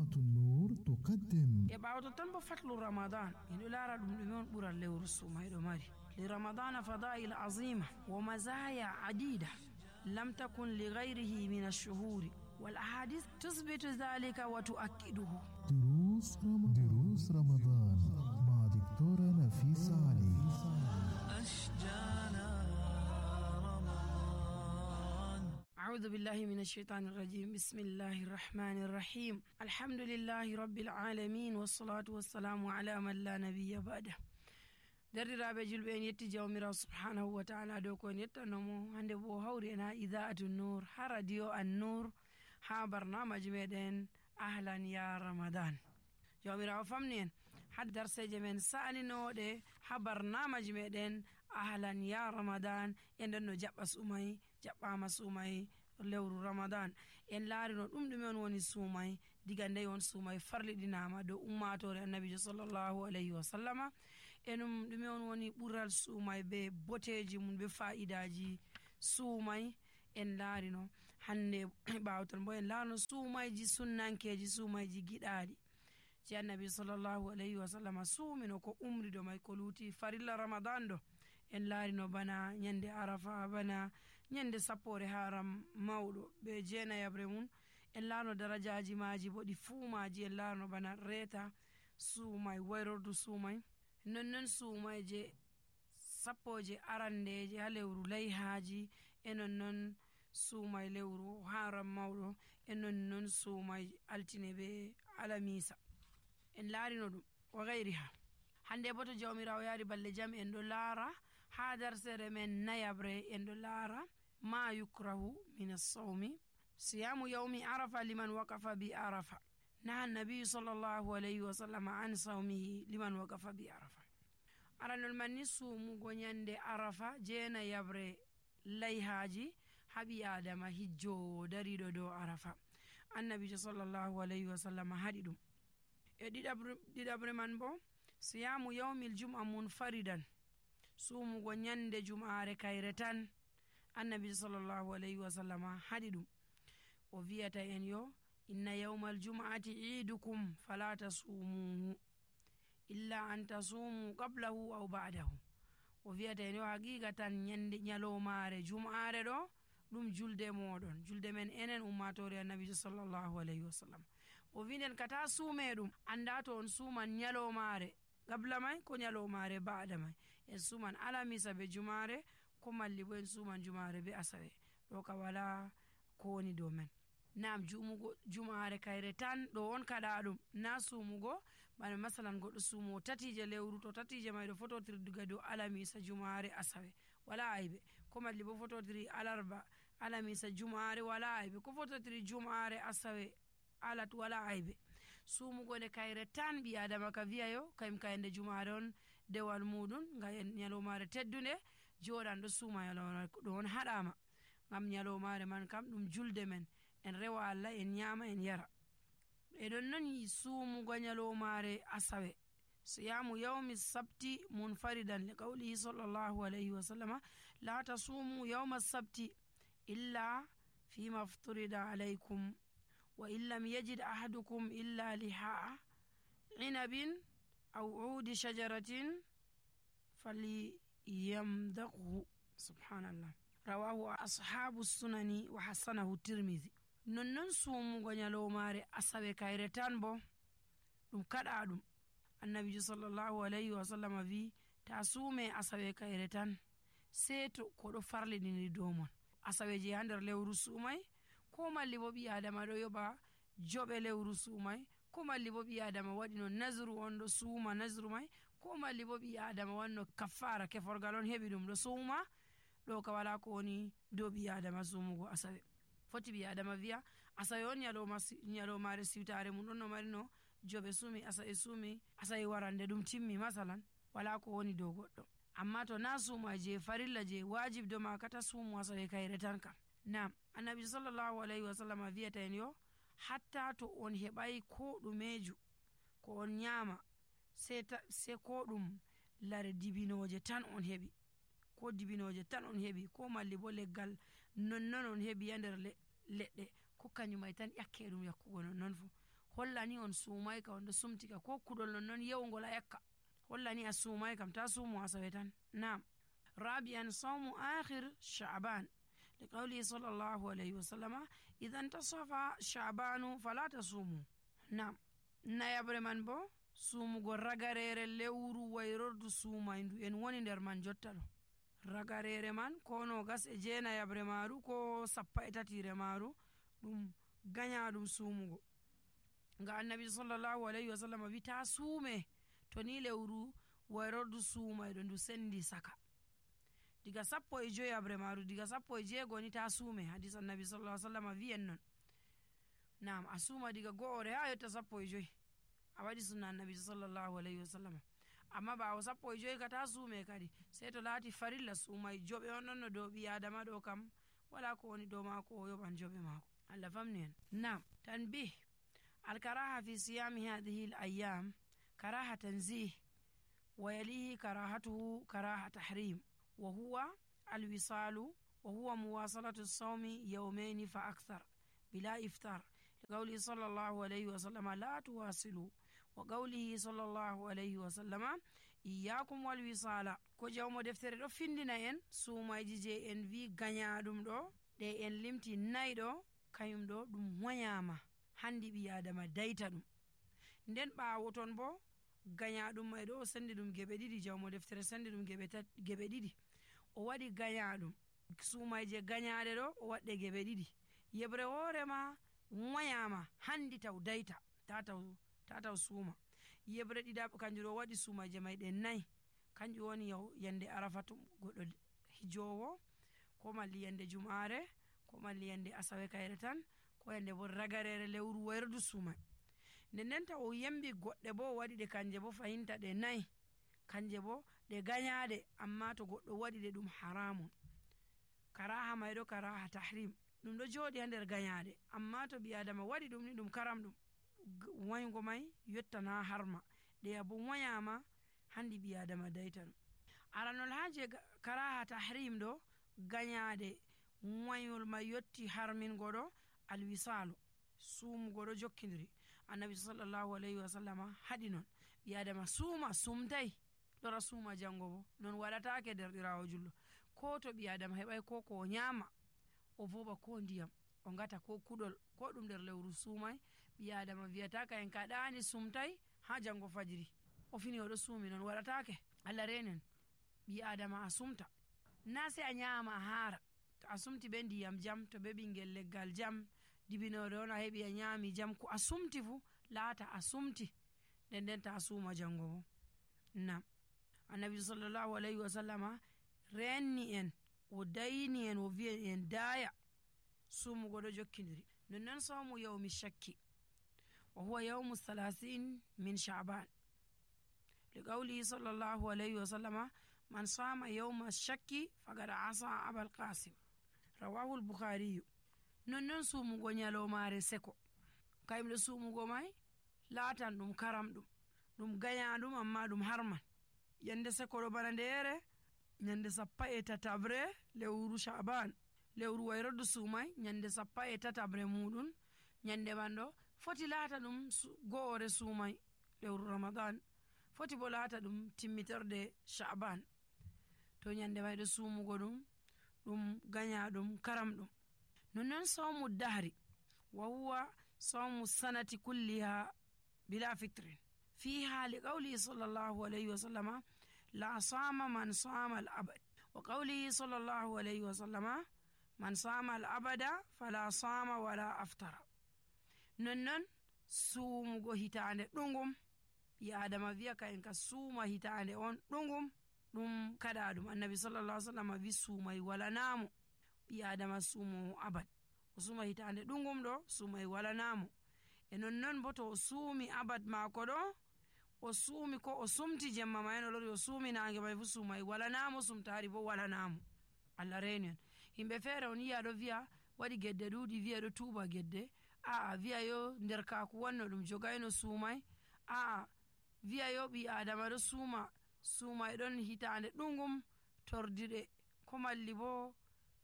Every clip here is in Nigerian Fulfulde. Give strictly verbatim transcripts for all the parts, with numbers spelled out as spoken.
قناة النور تقدم يبعد تنبو فتل رمضان إنه لا رد مليون برا اللي ورسو ما يدماري لرمضان فضائل عظيمة ومزايا عديدة لم تكن لغيره من الشهور والأحاديث تثبت ذلك وتؤكده. دروس رمضان, دروس رمضان مع دكتورة نفيسة علي. أشجانا رمضان. أعوذ بالله من الشيطان الرجيم. بسم الله الرحمن الرحيم. الحمد لله رب العالمين والصلاة والسلام على من لا نبي بعده. derdiraaɓe julɓe en yetti jawmirawo subhanahu wa taala dow ko en yettanomo hande bo hawri en ha idaatu nour ha radio an nour ha barnamaji meɗen ahlan ya ramadan. jawmirawo famni en ha darseje men sa'aninoɗe ha barnamaji meɗen ahlan ya ramadan en nden no jaɓɓa sumay jaɓɓama sumay lewru ramadan en laarino ɗum ɗume on woni suumay diga nde on suumay farliɗinama dow ummatore annabijo sallllahu alayhi wa sallama enum ɗume on woni ɓural suumay be boteji mum be fa'idaji suumay en laarino hande ɓawton bo en laarino suumayji sunnankeji suumayji giɗaɗi ci annabi sallllahu alayhi wa sallama suumino ko umrido may ko luuti farilla ramadan ɗo en laarino bana ñande arafa bana ñande sappore haram mawɗo be jeenayabre mum en laarno darajaji maji bo ɗi fuumaji en laarno bana reeta suumay wayrordu suumay nonnon suumayje sappoje arandeje ha lewru layhaji e nonnon suumay lewru haram mawɗo e nonnon suumay altine be alamisa en laarino ɗum wa gayriha. hande bo to jawmirawo yaari balle jam en ɗo laara ha darsere men nayabre en ɗo laara ma yukrahu min assawmi siyamu yawmi arafa liman waqafa bi arafa naha nabiyu sallllahu alayhi wa sallam an sawmihi liman waqafa bi arafa. aranol manni suumugo ñande arafa jeena yabre layhaji haɓi adama hijjowo dariɗo dow arafa annabijo sallllahu alayhi wa sallam haɗi ɗum. e ɗiɗabre man bo siyamu yawmil jum'a munfaridan suumugo ñande jum'are kayre tan annabi sallllahu alayhi wa sallam haɗi ɗum o wiyata en yo inna yawmal jum'ati iidukum fala tasumuhu illa an tasumu qablahu aw ba'dahu. o wiyata en yo haqiqa tan ñande ñalomare jum'are ɗo ɗum julde moɗon julde men enen ummatore annabijo sallllahu alayhi wa sallam. o winden kata suume ɗum anda to on suuman ñalomare gabla may ko ñalomare baɗa may en suuman alamisa be jumare ko malli bo en suuman jumare be asawe ɗo ka wala ko woni dow men. nam jumugo jumare kayre tan ɗo on kaɗa ɗum na suumugo bana masalan goɗɗo suumo tatije lewru to tatije may ɗo fototiri diga dow alamisa jumare asawe wala aybe ko malli bo fototiri alarba alamisa jumare wala aybe ko fototiri jumare asawe alat wala aybe. suumugo nde kayre tan ɓi adama ka wiyayo kayim kayende jumare on dewal muɗum ga ñalomare teddude joɗan ɗo suuma ñalomare ɗo on haɗama ngam ñalomare man kam ɗum julde men en rewa Allah en ñama en yara. e ɗon noon suumugo ñalomare asawe siyamu yawmi sabti munfaridan li qawlihi sallllahu alayhi wa sallama la tasumu yawma sabti illa fima fturida alaykum wa in lam yajid ahadukum illa lihaa inabin aw uudi shajaratin falyamdaqhu. subhanallah rawahu ashabu sunani wa hasanahu tirmidhi. nonnon suumugo ñalomare asawe kayre tan bo ɗum kaɗa ɗum annabijo sallllahu alayhi wa sallam wi ta suume asawe kayre tan sei to koɗo farliɗini dow mon. asawe je ha nder lewru suumay ko malli bo ɓi adama ɗo yoɓa joɓe lewru suumay ko malli bo ɓi adama waɗino nasru on ɗo suuma nasru may ko malli bo ɓi adama wanno kaffara keforgal on heɓi ɗum ɗo suuma ɗo ka wala ko woni dow ɓi adama suumugo asawe. foti ɓi adama wiya asawe on ñalomare siwtare mum ɗon no marino joɓe suumi asawe suumi asawe warande ɗum timmi masalan wala ko woni dow goɗɗo. amma to na suuma je farilla je wajib do ma kata suumu asawe kayre tan kam. nam annabi sallllahu alayhi wa sallam wiyata en yo hatta to on heɓay ko ɗumeju ko on ñama se ko ɗum lare dibinoje tan on heɓi ko dibinoje tan on heɓi ko malli bo leggal nonnon on heɓi ya nder leɗɗe ko kañumay tan ƴakke ɗum yakkugo nonnon fo hollani on suumay ka on ɗo sumtika ko kuɗol non non yewgol a yakka hollani a suumay kam ta suumo asawe tan. Nam rabi'an sawmu akhir sha'ban liqawli sallallahu alayhi wa sallama idan tasafa sha'banu fala tasumu. Nam nayabre man bo suumugo ragarere lewru wayrordu suumayndu en woni nder man jotta ɗo. Ragarere man ko nogas e jeenayabre maru ko sappa e tatire maru ɗum ganyaɗum suumugo, nga annabi sallallahu alayhi wa sallam wi ta suume to ni lewru wayrordu suumayɗo ndu sendi saka. Diga sappo e joyabre maru diga sappo e jeego ni ta suume, hadis annabi sallallahu alayhi wa sallam wi'en non. Nam a suuma diga go'ore ha yotta sappo e joyi a waɗi sunna annabi sallallahu alayhi wa sallam. Amma ɓawo sappo e joyi ka ta suume kadi sey to laati farilla suumay joɓe on ɗon no dow ɓi adama ɗo kam wala ko woni dow maako o yoɓan joɓe maako. Allah famni en. Nam tanbih alkaraha fi siyami hadihi l ayyam karaha tanzih wa yalihi karahatuhu karaha tahrim wa huwa alwisalu wa huwa muwasalatu sawmi yawmaini fa akthar bila iftar liqawli sallallahu alayhi wa sallam la tuwasilu wa qawlihi sallallahu alayhi wa sallama iyyakum wal wisala. Ko jawmo deftere ɗo findina en suumayji je en wi ganyaɗum ɗo ɗe en limti nayi ɗo kayum ɗo ɗum wayama handi ɓi adama dayta ɗum. Nden ɓawo ton bo ganyaɗum may ɗo o sendi ɗum geɓe ɗiɗi, jawmo deftere sendi ɗum geɓe ɗiɗi, o waɗi ganyaɗum suumayje ganyaɗe ɗo o waɗɗe geɓe ɗiɗi. yebre hoorema wayama handi taw dayta tataw tataw suuma. yebre ɗiɗaɓe kanjum ɗo waɗi suumaje may ɗe nayi, kanjum woni yande arafa to goɗɗo hijowo ko malli yande jumare ko malli yande asawe kayre tan ko yande bo ragarere lewru wayrdu suuma. Nden nden taw o yembi goɗɗe bo o waɗi ɗe kanje bo fahinta ɗe nayi kanje bo ɗe ganyaɗe, amma to goɗɗo waɗi ɗe ɗum haramun. Karaha mayɗo karaha tahrim ɗum ɗo jooɗi ha nder ganyaɗe, amma to ɓi adama waɗi ɗum ni ɗum karam ɗum waygo may yottana harma ɗeya bo wayama handi ɓi adama dayta ɗum. aranol haje karaha tahrim ɗo ganyaɗe wayol may yotti harmingo ɗo alwisalu suumugo ɗo jokkidiri. Annabi sallallahu alayhi wa sallama haɗi non ɓi adama suuma sumtay lora suuma jango bo non waɗatake derɗirawo jullo. Ko to ɓi adama heɓay ko ko o nyama o voɓa ko ndiyam o ngata ko kuɗol ko ɗum nder lewru suumay, ɓi adama wiyataka en kaɗani sumtay ha jango fajiri o fini oɗo suumi, non waɗatake. Allah renen ɓi adama a sumta na se a nyama a haara, to a sumti ɓe ndiyam jam to ɓe ɓingel leggal jam dibinore on a heɓi a nyami jam ko a sumti fu laata a sumti nden nden ta suuma jango bo. Nam annabi sallallahu alayhi wa sallama renni en o dayni en o wi'i en daya suumugo ɗo jokkidiri. nonnon sawmu yawmi shakki wa huwa yawmu thalathine min sha'ban liqawlihi sallallahu alayhi wa sallama man sama yawma shakki faqad asa abal qasim rawahu al-bukhari. nonnon suumugo nyalomare seko kayimɗo suumugo may laatan ɗum karam ɗum ɗum ganyaɗum amma ɗum harman. yande seko ɗo bana ndere nyande sappa e tatabre lewru sha'ban lewru wayrordu suumay nyande sappa e tatabre muɗum nyande man ɗo foti laata ɗum go'ore suumay lewru ramadan foti bo laata ɗum timmitorde sha'ban. to nyande may ɗo suumugo ɗum ɗum ganyaɗum karam ɗum. nonnon sawmu dahri wa huwa sawmu sanati kulliha bila fitrin fiha liqawlihi sallallahu alayhi wa sallama la sama man sama al abad wa qawlihi sallallahu alayhi wa sallama man sama al abada fala sama wala aftara. nonnon suumugo hitande ɗungum ɓi adama wiya ka en ka suuma hitande on ɗungum ɗum kaɗa ɗum. annabi sallallahu alayhi wa sallama wi suumay walanamo ɓi adama suumo abad o suuma hitande ɗungum ɗo suumay walanamo. e nonnon bo to o suumi abad maako ɗo o suumi ko o sumti jemma ma en o lori o suumi nange may fu suumay walanamo sumtari bo walanamo. Allah reni en. himɓe feere on yiya ɗo wiya waɗi gedde ɗuuɗi wiya ɗo tuuba gedde, aa wiya yo nder kaku wanno ɗum jogayno suumay, aa wiya yo ɓi adama ɗo suuma suumay ɗon hitande ɗungum tordiɗe ko malli bo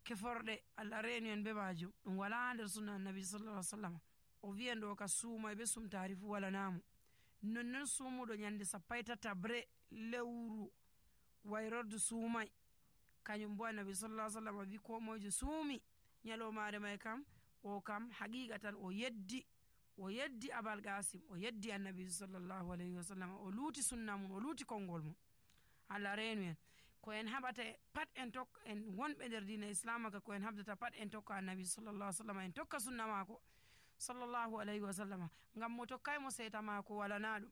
keforɗe. Allah reni en be majum ɗum wala nder sunna annabi sallallahu alaihi wasallam. o wi'en ɗo ka suumay be sumtaari fu walanamo. nonnon sumuɗo nyande sappo e tatabre lewru wayrordu suumay, kañum bo annabi sallallahu alaihi wasallam wi ko moyejo suumi nyalomare may kam o kam haqiqatan o yeddi o yeddi abal qasim, o yeddi annabi sallallahu alaihi wasallam, o luuti sunna mum, o luuti konngol mum. Allah reenu en ko en haɓata pat en tokka en wonɓe nder dina islam ka ko en habdata pat en tokka annabi sallallahu alaihi wasallam, en tokka sunna mako sallallahu alaihi wasallam, ngam mo tokkay mo seeta mako walana ɗum.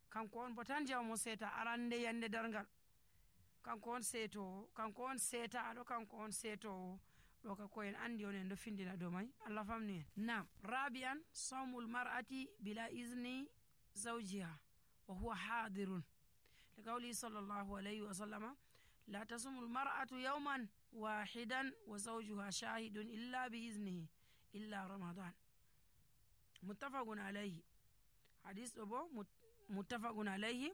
kanko on bo tan jaw mo seeta arande yande dargal, kanko on seetowo, kanko on seetaɗo, kanko on seetowo. ɗo ka ko en andi on en ɗo findina dow may. Allah famni en. nam rabi'an sawmul mar'ati bila izni zawjiha wa huwa hadirun li qawli sallallahu alayhi wa sallama la tasumul mar'atu yawman wahidan wa zawjuha shahidun illa bi iznihi illa ramadan. muttafaqun alayhi. hadis ɗo bo muttafaqun alayhi.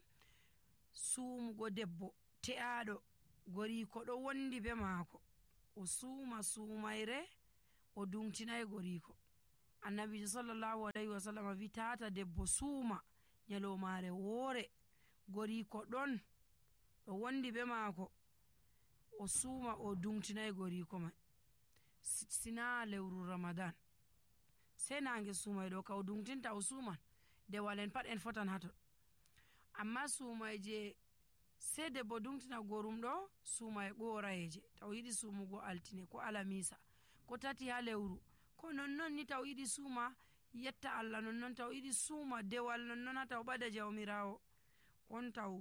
suumugo debbo te'aɗo goriko ɗo wondi be maako, o suuma suumayre o dumtinay goriko. annabijo sallallahu alayhi wa sallam wi tata debbo suuma nyalomare woore goriko ɗon ɗo wondi be maako o suuma o dumtinay goriko mai, sina lewru ramadan. sai nange suumay ɗo ka o dumtinta o suuman dewal en pat en fotan haton. amma suumay je sai debbo dumtina gorum ɗo suumay ɓorayeje taw yiɗi suumugo altine ko alamisa ko tati ha lewru, ko nonnon ni taw yiɗi suuma yetta Allah, nonnon taw yiɗi suuma dewal, nonnon ha taw ɓada jawmirawo on taw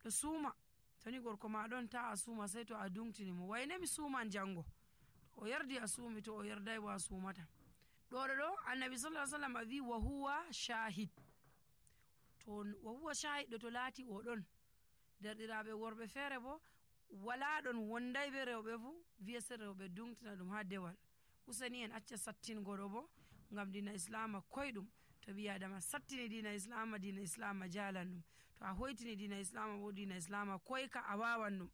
ɗo suuma. toni gorko ma ɗon ta a suuma sai to a dumtini mo, wayne mi suuman jango, o yardi a suumi, to o yardai bo a suumata. ɗo ɗo ɗo annabi sallallahu alaihi wasallam wi wa huwa shahid. to wa huwa shahid ɗo to laati o ɗon, derɗiraɓe worɓe feere bo wala ɗon wonday be rewɓe fu wiya se rewɓe dumtina ɗum ha dewal. useni en acca sattingo ɗo bo ngam dina islama koyɗum. to ɓi adama sattini dina islama, dina islama jalan ɗum. to a hoytini dina islama bo dina islama koyka a wawan ɗum.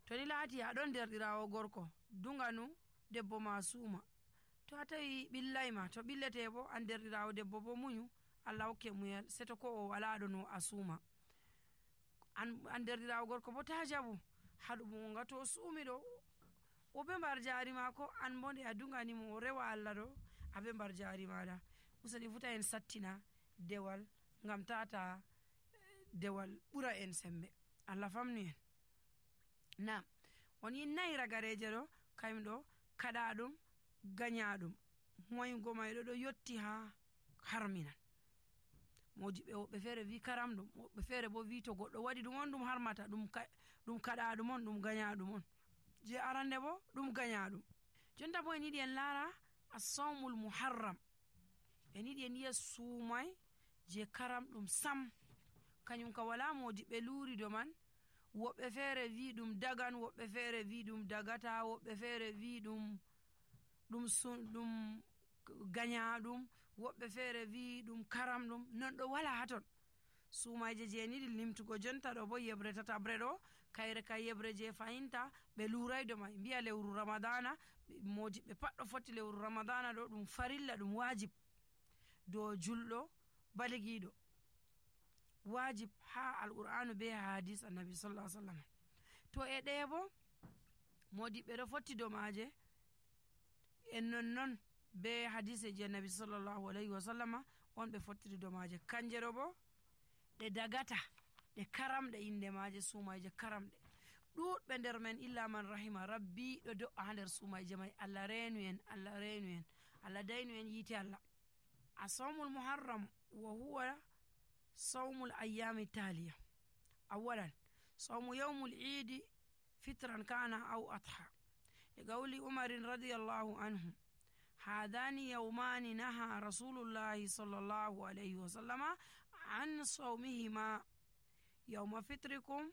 to ni laati aɗon derɗirawo gorko duganu debbo ma suuma, to a tawi ɓillayma, to ɓillete bo an derɗirawo debbo bo muñu, Allah hokke muyal, seto ko o wala ɗon o a suuma. an, an derɗirawo gorko bo ta jaɓu haɗumo nga to suumi ɗo o be mbar jari mako, an bo nde a duganimo o rewa Allah ɗo a be mbar jari maɗa. useni futa en sattina dewal ngam tata dewal ɓura en sembe. Allah famni en. nam on yinnayi ragareje ɗo kayum ɗo kaɗa ɗum gaña ɗum moygo mayɗo ɗo yotti ha harminan. modiɓe woɓɓe feere wi karam ɗum, woɓɓe feere bo wi to goɗɗo waɗi ɗum on ɗum harmata, ɗum kaɗa ɗum on, ɗum gaña ɗum on. je arande bo ɗum gaña ɗum. jonta bo en yiɗi en laara as-sawmul muharram, en yiɗi en yiya suumay je karam ɗum sam, kañum ka wala modiɓe luuri do man. woɓɓe feere wi ɗum dagan, woɓɓe feere wi ɗum dagata, woɓɓe feere wi ɗum ɗum ɗum gaña ɗum, woɓɓe feere wi ɗum karam ɗum, non ɗo wala haton. suumayje je en yiɗi limtugo jonta ɗo bo yebre tatabre ɗo kayre ka yebre je fahinta ɓe luuray do may, mbiya lewru ramadana, modiɓe pat ɗo foti lewru ramadana ɗo ɗum farilla, ɗum wajib dow julɗo baligiɗo, wajib ha alqur'anu be hadis annabi sallallahu alaihi wasallam. to e ɗe bo modiɓe ɗo fotti do maje en nonnon be hadise je annabi sallallahu alaihi wasallam on ɓe fottiri do maje. kanje ɗo bo ɗe dagata, ɗe karamɗe inde maje, suumayje karamɗe ɗuɗɓe nder men illa man rahima rabbi ɗo do'a ha nder suumayje may. Allah reenu en, Allah reenu en, Allah daynu en yiite Allah. as-sawmul muharram wa huwa sawmul ayyami taliya. awalan sawmu yawmul idi fitran kana aw adha li qawli umarin radiyallahu anhu hadani yawmani naha rasulullahi sallallahu alayhi wa sallama an sawmihima yawma fitrikum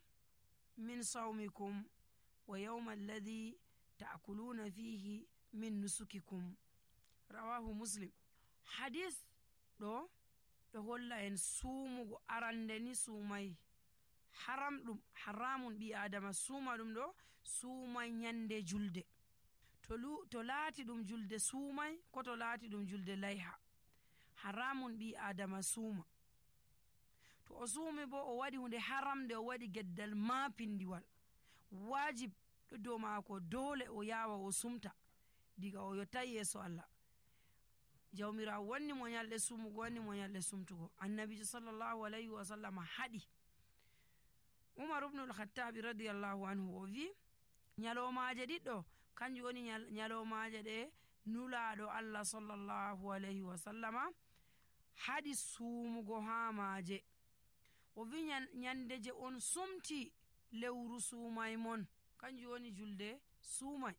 min sawmikum wa yawma alladhi ta'kuluna fihi min nusukikum. rawahu muslim. hadis ɗo ɗo holla en suumugo arande ni suumay haram ɗum, haramun ɓi adama suuma ɗum ɗo suumay nyande julde. to, to laati ɗum julde suumay ko to laati ɗum julde layha, haramun ɓi adama suuma. To o suumi bo o waɗi hunde haramde, o waɗi geddal maapindiwal, wajib ɗo dow maako, dole o yawa o sumta diga o yottai yeeso Allah. Jawmirawo wanni mo nyalɗe sumugo, wanni mo nyalɗe sumtugo. Annabijo sallallahu alayhi wa sallam haɗi. Umar ibn al-Khattabi radiyallahu anhu o wi nyalomaje ɗiɗɗo kanjum woni nyalomaje ɗe nulaɗo Allah sallallahu alayhi wa sallama haɗi sumugo ha maje. O wi nyande je on sumti lewru sumai mon, kanjum woni julde sumai,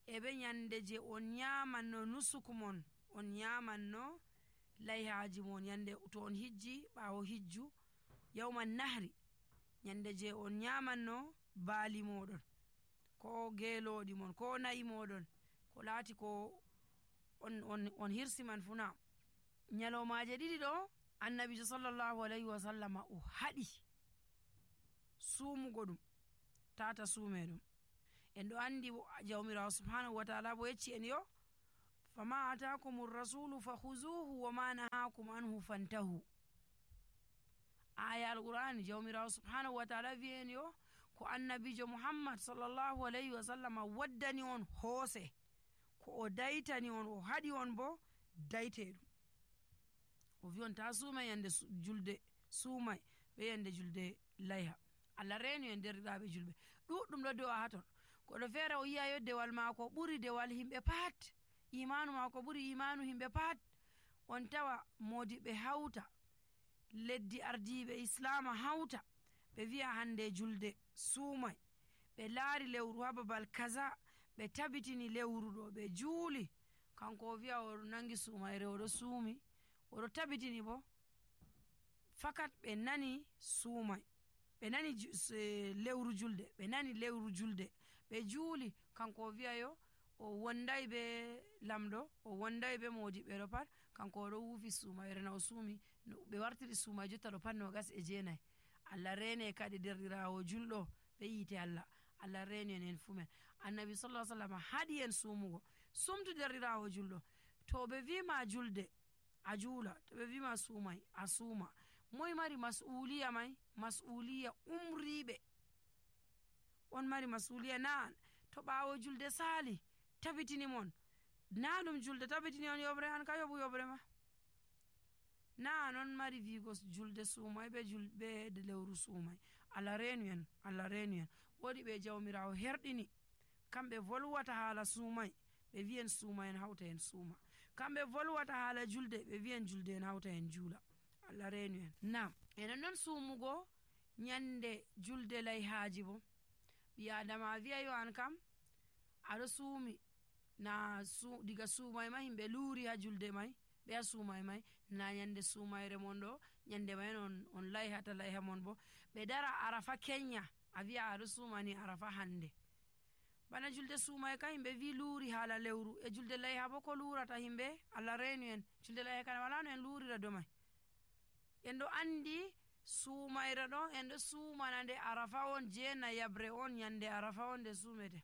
e be nyande je on nyamanno nusuku mon, on nyamanno layhaji mon, yande to on hijji ɓawo hijju yawman nahri, nyande je on nyamanno baali moɗon ko geloɗi mon ko nayi moɗon ko laati ko on, on, on hirsi man funa. Nyalomaje ɗiɗi ɗo annabijo sallallahu alayhi wa sallama o haɗi sumugo ɗum tata suume ɗum. En ɗo andi jawmirawo subhanahu wa ta'ala bo yecci en yo fama atakum rasulu fakhuzuhu wa ma nahakum anhu fantahu. Aya alqur'ani jawmirawo subhanahu wa ta'ala wi en yo ko annabijo muhammad sallallahu alayhi wa sallama waddani on hoose, ko o daytani on o haɗi on bo dayte ɗum. O wi on ta suumai yande julde suumai be yande julde layha. Allah reenu en derɗiraɓe julɓe ɗuɗɗum ɗo do'a haton. Goɗɗo feere o yiya yo dewal maako ɓuri dewal himɓe pat, imanu maako ɓuri imanu himɓe pat. On tawa modiɓe hawta, leddi ardiɓe islama hawta, ɓe wi'a hande julde suumai, ɓe laari lewru ha babal kaza, ɓe tabitini lewru ɗo, ɓe juuli, kanko o wi'a o nangi suumayre, oɗo suumi, oɗo tabitini bo fakat ɓe nani suumai, ɓe nani lewru julde, ɓe nani lewru julde, ɓe juuli, kanko o wi'a yo o wondai be lamɗo, o wondai be modiɓɓe ɗo pat, kanko oɗo wuufi suumayre na o suumi, ɓe wartiri suumai jotta ɗo pat nogas e jeenayi. Allah rene kadi derɗirawo julɗo be yite Allah, Allah reni en en fumen. Annabi sallallahu alaihi wasallam haɗi en sumugo, sumtu derɗirawo julɗo. To ɓe wima julde a juula, to ɓe wima suumai a suuma. Moy mari mas'uliya mai? Mas'uliya umriɓe on mari mas'uliya. Na to ɓawo julde sali tabitini mon, na ɗum julde tabitini on yobre, an ka yoɓu yobre ma. Na non mari vigo julde suumai be julbe de lewru suumai. Allah renu en, Allah renu en. Wodi ɓe jawmirawo herɗini kamɓe volwata haala suumai, ɓe wi'en suuma en hawta en suuma. Kamɓe volwata haala julde, ɓe wi'en julde en hawta en juula. Allah renu en. Nam enen non suumugo nyande julde layhaji bo, ɓi adama wi'a yo an kam aɗo suumi na su, diga suumai ma himɓe luuri ha julde mai, ɓe a suumai mai na nyande suumayre mon ɗo, nyande mai on, on layhata layha mon bo, ɓe dara arafa kenya a wi'a aɗo suumani arafa hande. Bana julde suumai ka himɓe wi luuri haala lewru, e julde layha bo ko luurata himɓe? Allah renu en. Julde layha kana wala no en luurira do mai. En ɗo andi suumayre ɗo en ɗo suumana nde arafa on, jeena yabre on, nyande arafa on nde suumete.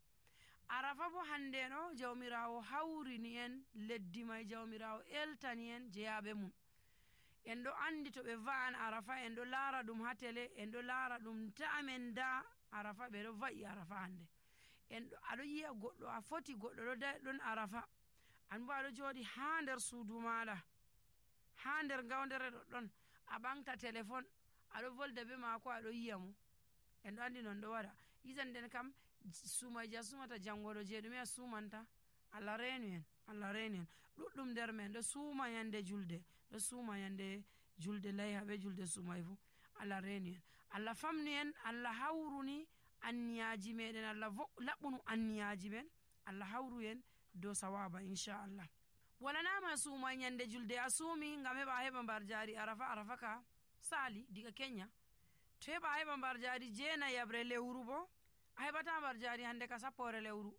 Arafa bo hande no jawmirawo hawrini en leddi mai, jawmirawo eltani en jeyaɓe mum. En ɗo andi to ɓe va'an arafa en ɗo laara ɗum ha tele, en ɗo laara ɗum ta'amen da arafa, ɓe ɗo va'i arafa hande. En ɗo aɗo yi'a goɗɗo a foti goɗɗo ɗo da ɗon arafa, an bo aɗo jooɗi ha nder suudu maɗa, ha nder gawdere ɗoɗɗon, a ɓamta téléphone aɗo volda be maako aɗo yi'a mo. En ɗo andi non ɗo waɗa. Yisan nden kam suumaji a suumata jangoɗo je ɗume a suumanta? Allah renu en, Allah renu en. Ɗuɗɗum nder men ɗo suuma yande julde, ɗo suuma yande julde layha be julde suumai fu. Allah renu en. Allah famnu en, Allah hawruni anniyaji meɗen, Allah laɓɓunu anniyaji men, Allah hawru en dow sawaba inchallah. Walanama suuma yande julde a suumi ngam heɓa a heɓa mbar jari arafa, arafa ka sali diga kenya. To heɓa a heɓa mbar jari jeena yabre lewru bo, a heɓata mbar jari hande ka sappore lewru.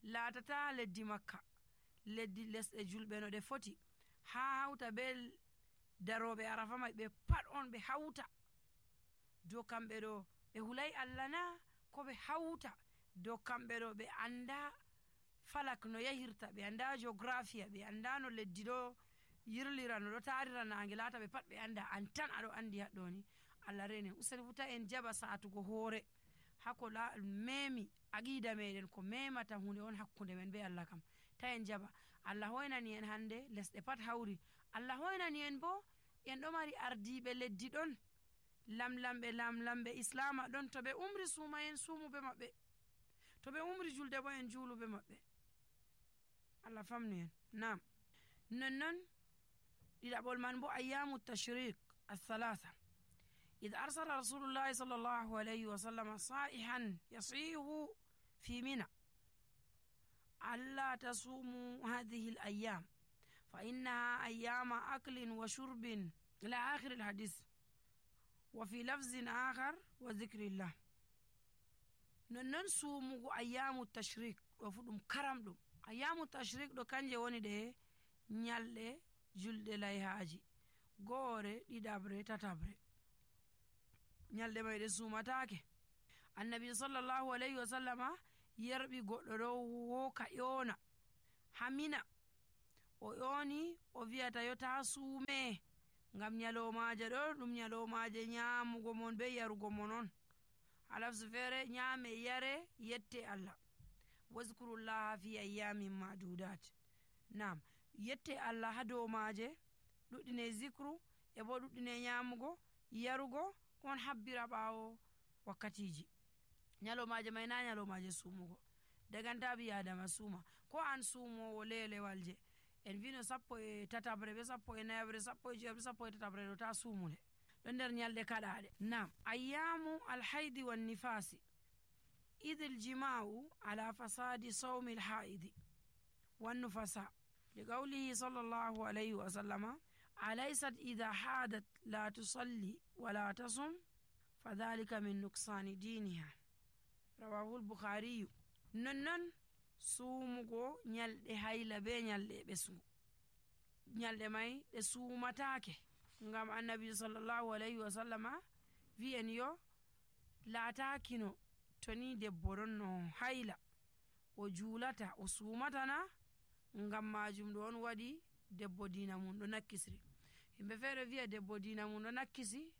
Laatata leddi makka, leddi lesɗe julɓe no ɗe foti, ha hawta be daroɓe arafa mai ɓe pat on ɓe hawta dow kamɓe ɗo ɓe hulai Allah na, ko ɓe hawta dow kamɓe ɗo ɓe anda falak no yahirta, ɓe anda geographia, ɓe anda no leddi ɗo yirlira no ɗo tarira nange laata ɓe pat ɓe anda an tan aɗo andi haɗɗo ni Allah renen useni futa en jaɓa satugo hoore hako la memi aqida meɗen ko memata hunde on hakkunde men be Allah kam ta en jaɓa. Allah hoynani en hande lesɗe pat hawri, Allah hoynani en bo en ɗo mari ardiɓe leddi ɗon, lamlamɓe lamlamɓe islama ɗon, to ɓe umri suma en sumu be maɓɓe, to ɓe umri julde bo en julu be maɓɓe. Allah famnu en. Nam nonnon ɗiɗaɓol man bo ayyamu tashrik athalatha إذ أرسل رسول الله صلى الله عليه وسلم صائحا يصيح في منى ألا تصوموا هذه الأيام فإنها أيام أكل وشرب إلى آخر الحديث وفي لفظ آخر وذكر الله. ننن سومو أيام التشريك وفدم كرم دم أيام التشريك دو كانجي وني ده نيالde julde layhaji gore ɗiɗabre tatabre nyalde may de sumatake. Annabi sallallahu alayhi wa sallama yerbi goɗɗo ɗo woka ƴona hamina o ƴoni o wiyata yo ta suume ngam nyalomaje ɗo ɗum nyalomaje nyamugo mon be yarugo mon on, halafsu fere nyame yare yette Allah. wazkurullaha fi ayyamin madudat. Nam yette Allah ha dow maje ɗuɗɗine zikru e bo ɗuɗɗine nyamugo yarugo on habbira ɓawo wakkatiji. nyalomaje may na nyalomaje sumugo daganta bi adama suma ko an sumowo lelewal je en vino sappo e tatabre be sappo e nayabre sappo e jeebre sappo e tatabre ɗo ta sumule ɗo nder nyalde kaɗaɗe. Nam ayyamu alhaidi wan nifasi idh aljima'u ala fasadi sawmi alhaidi wan nufasa liqawlihi sallallahu alayhi wa sallama alaysat idha hadat la tusalli wala tasum fadhalika min nuksani diniha rawahu al-bukhari. nonnon sumugo nyalde hayla be nyalde ɓesgu nyalde may ɗe sumatake ngam annabi sallallahu alayhi wa sallama wi en yo laatakino to ni debbo ɗon no hayla o julata o sumatana ngam majum ɗo on waɗi debbo dina mum ɗo nakkisri. himɓe feere wiya debbo dina mum ɗo nakkisi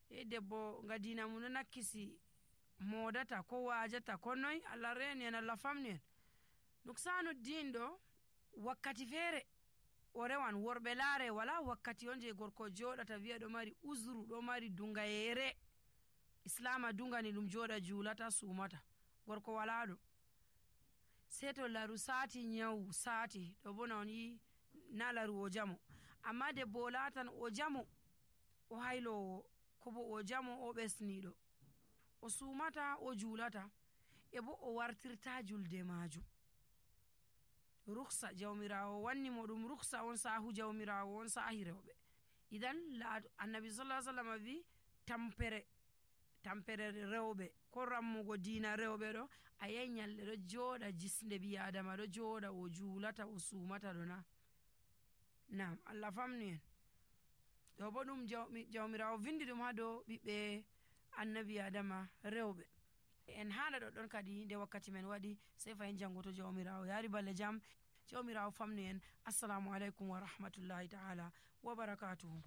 e debbo nga dina mum ɗo nakkisi modata ko wajata ko noy. Allah reni en, Allah famni en. nuksanu din ɗo wakkati feere o rewan worɓe laare wala wakkati on je gorko joɗata wiya ɗo mari uzru ɗo mari dungayere islama dungani ɗum joɗa julata sumata, gorko wala ɗum sei to laru sati nyawu sati ɗo bona on yi na laru o jamo, amma debbo o latan o jamo o haylowo ko bo o jamo o ɓesniɗo o sumata o julata e bo o wartirta julde majum. ruksa jawmirawo wanni mo ɗum ruksa on sahu jawmirawo on sahi rewɓe. idan laado annabi sallallahu alaihi wasallam wi tampere tampere rewɓe ko rammugo dina rewɓe ɗo a yahi nyalde ɗo joɗa jisnde bi adama ɗo joɗa o julata o sumata ɗo na. Nam Allah famni en. ɗo bo ɗum jawmirawo vindi ɗum ha dow ɓiɓɓe annabi adama rewɓe. en haala ɗoɗɗon kadi nde wakkati men waɗi sei fayin jango to jawmirawo yaari balle jam. jawmirawo famni en. assalamu aleykum wa rahmatullahi ta'ala wa barakatuhu.